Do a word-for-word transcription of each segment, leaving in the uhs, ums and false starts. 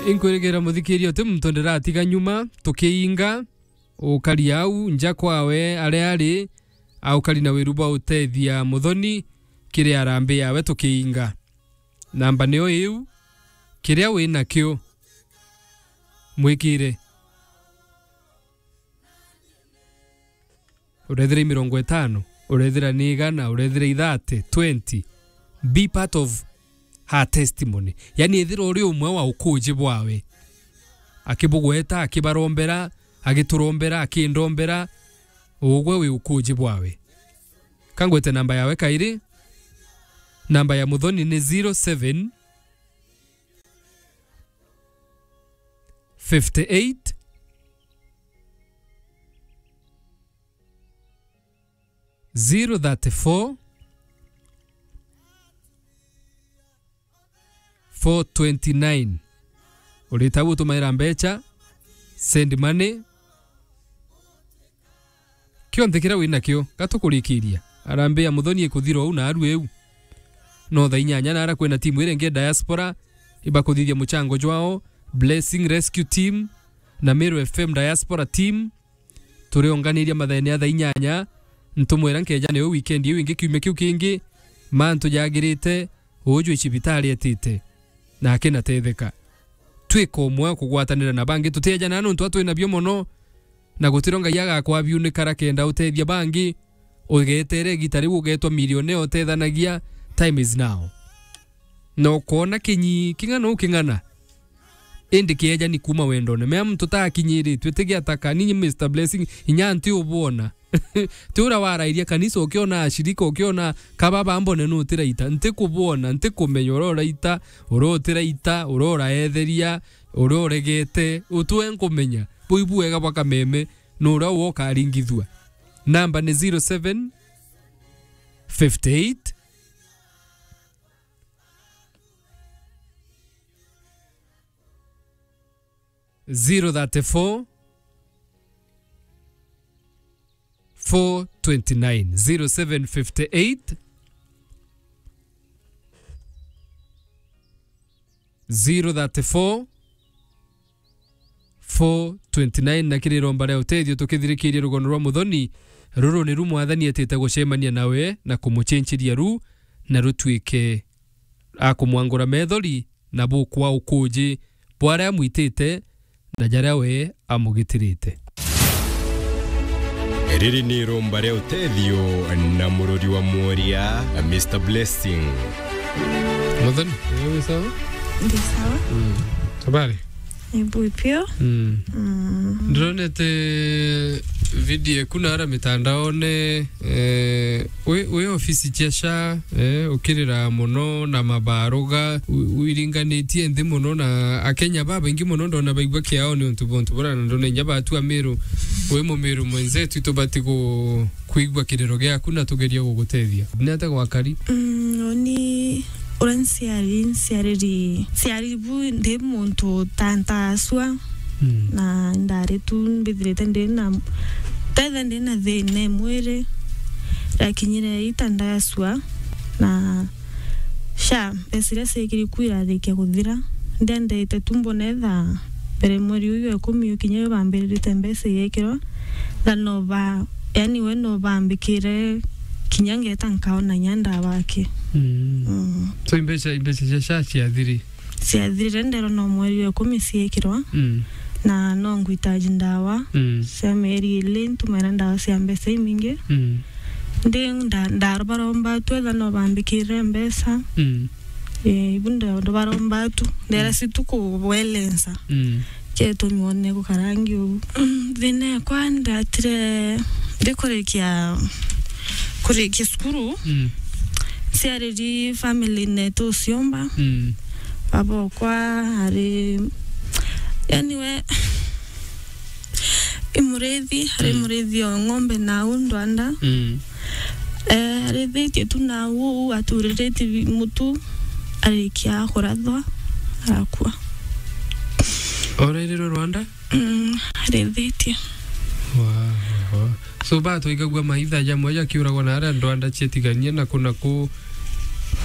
Inkwirigira muthikiria uti muntu ndiratiga nyuma, tukiinga, ukari au nja kwawe aria ari, aukari na wiru bwa utethia muthoni kiri arambi yawe tukiinga. Namba niyo iu, kiria wi nakio, mwikire. Urethira i mirongo itano, urethira ni igana, urethira i thirty, twenty. Be part of her testimony. Yani, ethira uri umwe wa ukuji bwawe. Akibugweta, akibarombera, agiturombera, akindombera, ugwe wi ukuji bwawe. Kangwete namba yawe kairi. Namba ya muthoni ni zero seven, fifty eight, zero thirty four, four twenty nine. Urita gutumaira mbecha, send money, kionthe kiria wi nakio, gatukurikiria. Harambee ya muthoni ikuthira uu na aru iu. No thaa inyanya nara kwina timu iria ingi ya diaspora ibakuthithia muchango jwao, Blessing Rescue Team na Meru F M Diaspora Team. Turiongania mathaene ya thaa inyanya, ntumwira nkeja niyo weekend iu ingi kiumia kiu kingi, mantu jagirite, uju i cibitari etite, na akinatetheka. Twika umwe kugwatanira na bangi, tutiejana nontu atwi nabio mono, na gutiro Ngai agakwa biu ni kara kenda utethia bangi. Ugetere igita riu ugetwa milionea utethanagia, time is now. Na ukoona kinyi king'ana u king'ana, indi kieja ni kuuma wendone. Mea muntu ta akinyiritue, ti giataka, ni Mister Blessing, inya nti ubwona. Ti uria warairia kanisa, ukiona ashirika, ukiona kababa mbone nutiraita. Nti kubwona, nti kumenya uria uraita, uria utiraita, uria uraetheria, uria uregete, utue nkumenya. Bui bwega bwa kameme, ni uria ukaringithua. Namba ni zero seven, fifty eight, zero thirty four, four twenty nine, zero seven fifty eight, zero thirty four, four twenty nine, na kiri iromba ria utethio tukithirikiria rugono rwa muthoni. Ruru niru Mwathani etite gucemania nawe na kumuchinchiria ru, na rutuike akumwangura methori na bukwa ukuji bwa aria amwitite na jaria we amugitirite. Riri ni iromba ria utethio na murori wa mworia, Mister Blessing. Muthoni, wi sawa? Ndi sawa. Mm. Habari? Ni bui pio. Mm. Mm. Ndironete video eku nara mitandaone, eh, wi, wi ofisi cia sha, eh, ukirira mono na mabaruga, u-, wiringanitie nthi mono, na Akenya babaingi mono ndona baigua kiao ni untu bwa untu bura, na ndona inya batu a Miru, wi Mumiru mwenzetu, tubati ku-, kwigua kiriro giaku na tugerie gugutethia. Ni atia gwakari? Mm, uni uria nciari, nciariri, nciari bu ndi muntu ta ntasua. Mm. Na ndari tu mbithirite ndi na, tethe ndi na thina e mwiri, rakinyire ita ndasua, na sha mbeca iria ciekiri ku irarikia kuthira. Ndiendete tu mbone tha mbere mweri uyu wa ikumi ukinya uyu bambiririte mbeca igekirwa, tha no ba, yani we no bambikire kinya ngeta nkaona inya ndawa aki. Mm. Mm. So imbeca, imbeca cia sha ciathiri? Ciathirire, nderwa no mweri wa ikumi ciekirwa. Mm. Na no ngwitaji ndawa. Mm. Cia mieri ili, ntumera ndawa cia mbeca imingi. Mm. Ndi nda-, ndabaromba tu etha no bambikirire mbeca. Mm. Eh, ibu ndo, ndo baromba tu. Ndera si tu kuwelensa. Mm. Kietumi one gukarangi uu. Mm, thina yakwa ndatire ndikurikia, kurikia cukuru. Mm. Ciariri family netu uciomba. Mm. Baba okwa ari, yani we, i murithi, ari, mm, murithi o ng'ombe na au ndwanda. Mm. Eh, arithitie tu na au, aturiritie bi-, mutu, arikia kurathwa, arakua. Orairirwe Rwanda? Mm, arithitie. Wa, wa. So, batwaigagua maitha jamwe jakiuragwa na aria ndwanda cietiganie na ku na ku,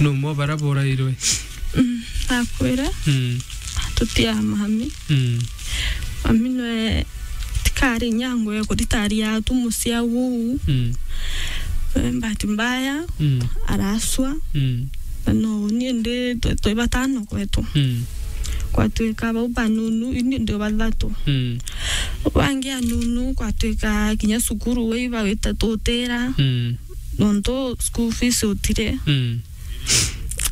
no mo bara borairwe? Mm, akwire. Mm. tutia mami. Mm. Mami nwe tikari nyango ya kuritaria tu mucia uu. Mm. Eh, bahati mbaya, mm, araswa. Mm. Na no, ni ndi twe, twe batano kwetu. Mm. Kwatwika bau banunu, ini ndi bathatu. Mm. Bangi anunu, kwatwika kinya cukuru we iba wita tutira. Mm. Nontu school fees utire. Mm.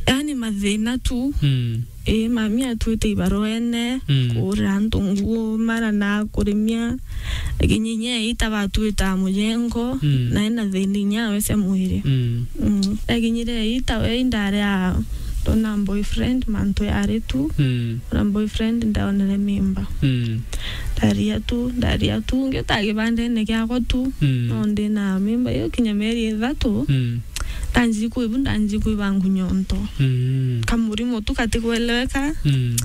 Yani mathina tu. Mm. Ii, mami atwite ibaroene, mm, kuurira antu nguo, mara na kurimia. Lakini inya eita batwita mujengo, mm, na ena thina inya we cia mwiri. Mm. Mm. Ekinyire eita we indari a, ndona boyfriend, mantu yari tu. Mm. Na boyfriend ndaonere mimba. Mm. Ndaria tu, ndaria tu, ngiuta kibandene kiakwa tu. Mm. No ndina mimba iyo kinya mieri ithatu. Mm. Ndanji kwibu, ndanji kwiba ngunyo nto. Mm. Kamurimo tu katikweleweka. Mm.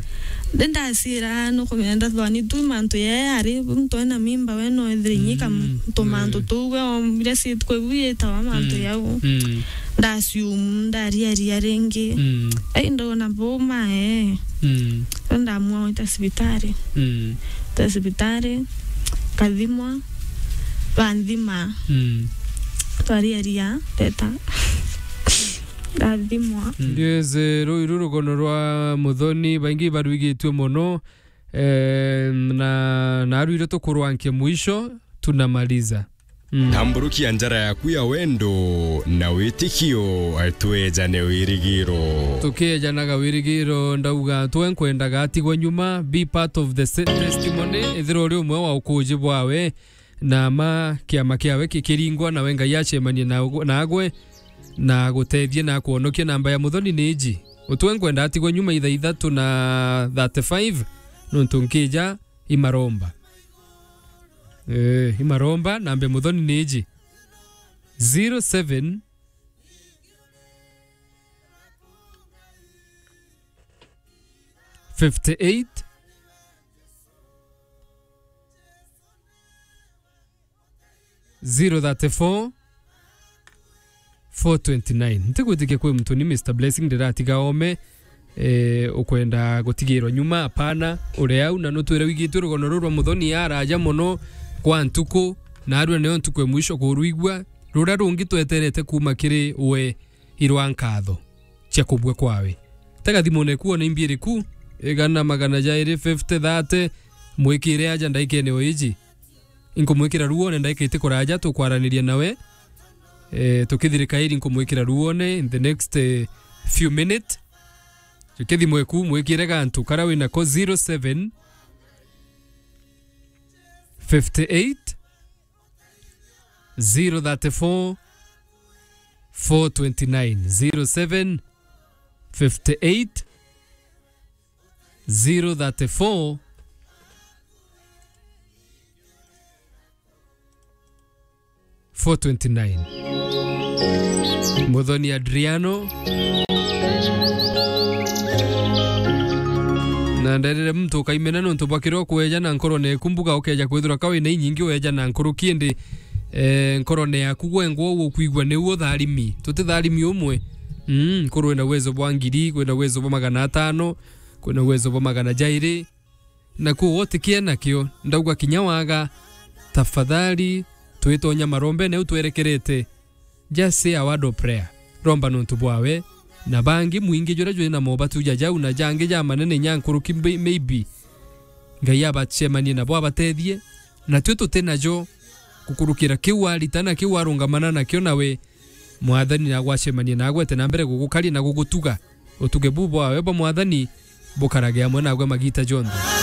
Ndi ndacira nukumenya ndathwani tu mantu yae ari muntu ena mimba we no ethire inyika, mm, ntu mantu, mm, tuu we ombire si kwibu yitawa mantu, mm, yau. Mm. Ndasiumu, ndariaria ringi. Mm. Ai ndona buma, eh. Mm. Ndamua gwita cibitari. Mm. Gwita cibitari, kathimwa, banthima. Mm. Twariaria, teta. Ndathimwa. Mm. Yes, eh, ruu iru rugono rwa Muthoni, baingi barwigitue mono, eh, na, na aru iru tukurwankia mwisho, tunamaliza. Mm. Tamburukia njara yaku ya wendo na witikio, twejane wirigiro. Tukiejanaga wirigiro, ndauga twe nkwendaga atigwe nyuma, be part of the se-, testimony, ethira uri umwe wa ukuji bwawe, na ma kiama kiawe kikiringwa, nawe Ngai acemanie na, nagwe, na agutethie na akwonokie. Namba ya Muthoni ni iji. Utwe nkwenda atigwe nyuma ithaa ithatu na thirty-five, nontu nkija imaromba. Eh, imaromba, namba ya Muthoni ni iji. Zero seven, fifty-eight, zero thirty-four, four twenty-nine. Ntigwitikia kwi muntu ni Mister Blessing ndiratiga ome, eh, ukwenda gutigirwa nyuma, apana. Uri au na nutwire wigitue rugono ruru rwa Muthoni araja mono kwa ntuku, na arua nio ntuku ya mwisho kurwigua, ruria rungi tweterete kuuma kiri we irwa nkatho cia kubua kwawe. Tega thimune ku one imbi iriku, igana, magana jairi, fifty, thirty, mwikire aja ndaikene o iji. Inkumwikira ruone ndaika iti kuraja, tukwaraniria nawe. Eh, tukithirika iri nkumwikira ruone in the next, eh, few minute. Jukithimwe ku, mwikire gantu kara wina ko, zero seven, fifty-eight, zero thirty-four, four twenty-nine, zero seven, fifty-eight, zero thirty-four, four twenty-nine. Muthoni Adriano. Na nderire muntu ukaimena nontu bwa kiria ukweja na nkorone eku mbuga ukeja kwithirwa ka wina inyingi weja na nkuruki indi, eh, nkorone yaku gwengwa ukwigua niu utharimi. Tutitharimi umwe. Mm, nkurwe na uwezo bwa ngiri, kwina uwezo bwa magana atano, kwina uwezo bwa magana jairi. Na kuu utikie nakio, ndauga kinya waga, tafadhali, twitonya marombene u twerekerete. Just say a word of prayer. Romba nontu bwawe, na bangi mwingi juria jwina mobatu ja jau na jangi ja manene nya nkuruki mbe-, maybe. Ngai abacemanie nabo abatethie, na tui tuti najo gukurukira kiu warita na kiu warungamana nakio nawe. Mwathani nagwacemanie naagwe ete na mbere gugukaria na gugutuga. Utuge buu bwawe bwa Mwathani bukarage amwe naagwe magiita jonthe.